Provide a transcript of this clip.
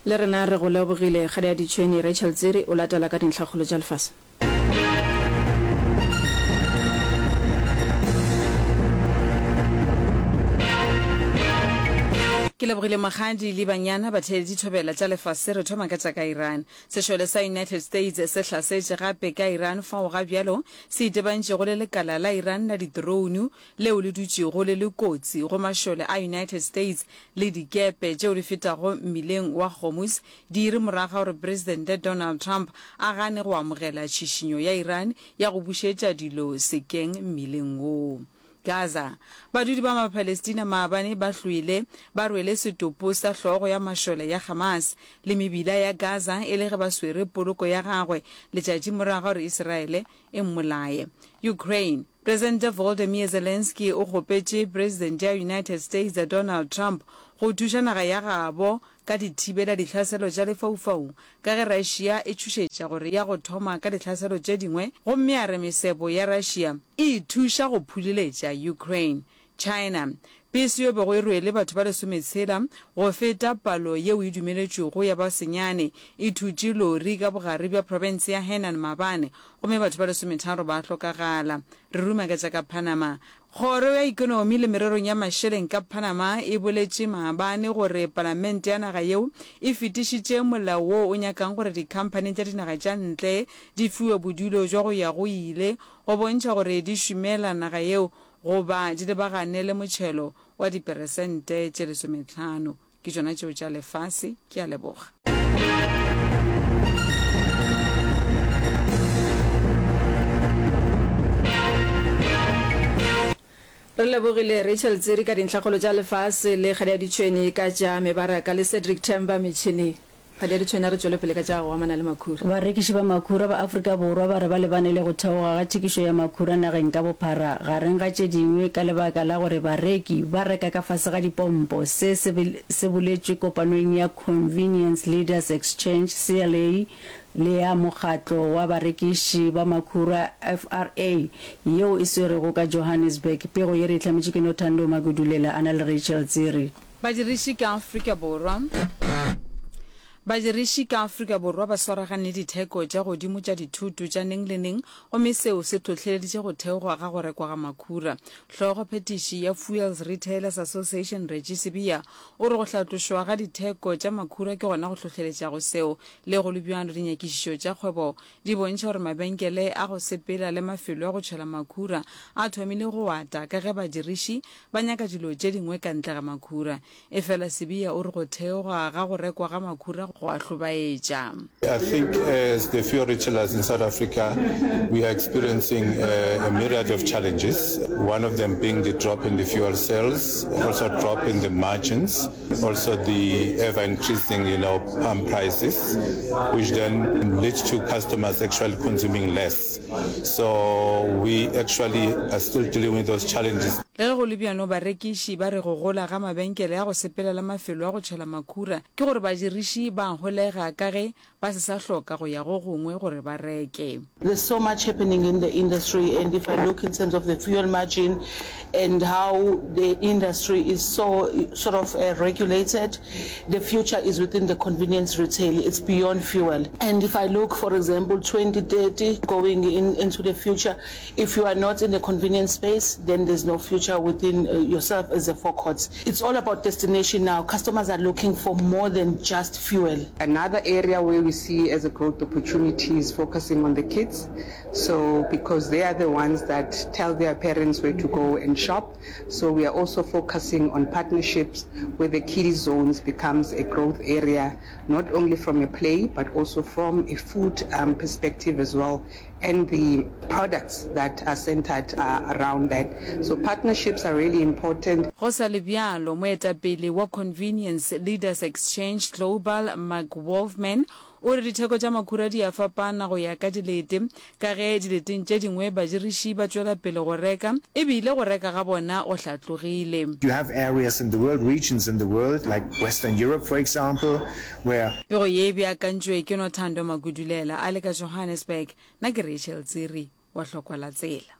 Le rena re go lebogile. Kgadi ya Ditšhwene, Rachel Tsiri o latela ka dintlhakgolo tša lefase. Ke lebogile Mokgadi le banyana batheeletši thobela tša lefase re thoma ka tša ka Iran. Sešole sa United States se hlasetše gape ka Iran fao ga bjalo se itebantšego le lekala la Iran la didrounu leo le dutšego le le kotsi go mašole a United States le dikepe tšeo di fetago mmileng wa Hormuz diiri morago ga gore Presidente Donald Trump a gane go amogela tšhišinyo ya Iran ya go bušetša dilo sekeng mmileng woo. Gaza, Badudi ba Mapalestina maabane ba hlwele ba rwele setopo sa hlogo ya mašole ya Hamas le mebila ya Gaza e le ge ba swere poloko ya gagwe letšatši morago ga gore Iseraele e mmolaye. Ukraine, Presidente Volodymyr Zelenskyy o kgopetše Presidente ya United States Donald Trump go thuša naga ya gabo ka dithibela ditlhaselo tša lefaufaung ka ge Russia e tšhošetša gore ya go thoma ka ditlhaselo tše dingwe gomme a re mesebo ya Russia e e thuša go phuleletša Ukraine. China, Pese yo bego e rwele batho ba lesometshela go feta palo yeo e dumeletšwego ya ba senyane e thutše lori ka bogare bja profense ya Henan maabane gomme batho ba lesometharo ba hlokagala. Re ruma ka tša ka Panama. Kgoro ya Ekonomi le Mererong ya Mašeleng ka Panama e boletše maabane gore palamente ya naga yeo e fetišitše molao wo o nyakang gore dikhamphani tša dinaga tša ntle di fiwe bodulo bja go ya go ile go bontšha gore di šomela naga yeo goba di lebagane le motšhelo wa diperesente tše lesometlhano. Ke tšona tšeo tša lefase. Ke a leboga. Re lebogile Rachel Tsiri ka dintlhakgolo tša lefase le Kgadi ya Ditšhwene ka tša mebaraka le Cedric Themba metšhineng. Kgadi ya Ditšhwene a re tšwele pele ka tša go amana le makhura. Barekiši ba makhura ba Afrika Borwa ba re ba lebane le go theoga ga thekišo ya makhura nageng ka bophara, gareng ga tše dingwe ka lebaka la gore bareki ba reka ka fase ga dipompo. Se se se boletšwe kopanong ya Convenience Leaders Exchange, CLA, le ya Mokgatlo wa Barekiši ba Makhura, FRA, yeo e swerwego ka Johannesburg. Pego ye re e hlametše ke Nothando Magudulela a na le Rachel Tsiri. Badiriši ka Afrika Borwa Badiriši ka Afrika Borwa ba swaragane le ditheko tša godimo tša dithoto tša neng le neng gomme seo se hlohleleditše go theoga ga go rekwa ga makhura. Hlogophetiši ya Fuels Retailers Association Reggie Sibiya o re go hlatlošwa ga ditheko tša makhura ke gona go hlohleletšago seo. Le go le bjalo dinyakišišo tša kgwebo di bontšha gore mabenkele a go sepela le mafelo a go tšhela makhura a thomile go ata ka ge badiriši Ba nyaka dilo tše dingwe ka ntle ga makhura. Efela Sibiya o re go theoga ga go rekwa ga makhura go a hlobaetša. I think as the fuel retailers in South Africa we are experiencing a myriad of challenges, one of them being the drop in the fuel sales, also drop in the margins, also the ever increasing, you know, pump prices, which then lead to customers actually consuming less. So we actually are still dealing with those challenges. Le ge go le bjalo, barekiši ba re go gola ga mabenkele a go sepela le mafelo a go tšhela makhura ke gore badiriši ba a holega ka ge ba se sa hloka go ya go gongwe gore ba reke. There's so much happening in the industry and if I look in terms of the fuel margin and how the industry is so sort of regulated, The future is within the convenience retail, it's beyond fuel. And if I look, for example, 2030 going in, into the future, if you are not in the convenience space, then there's no future within uh, yourself as a forecourt. It's all about destination now. Customers are looking for more than just fuel. Another area where we see as a growth opportunity is focusing on the kids. So because they are the ones that tell their parents where to go and shop. So we are also focusing on partnerships where the kiddie zones becomes a growth area, not only from a play, but also from a food um, perspective as well, and the products that are centered uh, around that. So partnerships are really important. Go sa le bjalo, moetapele wa Convenience Leaders Exchange Global, Mark Wolfman, O re ditheko tša makhura di a fapana go ya ka dilete, ka ge dileteng tše dingwe badiriši ba tšwela pele go reka e bile go reka ga bona go hlatlogile. You have areas in the world, regions in the world, like Western Europe, for example, where. Pego ye e beakantšwe ke Nothando Magudulela a le ka Johannesburg. Nna ke Rachel Tsiri wa Hlokwa la Tsela.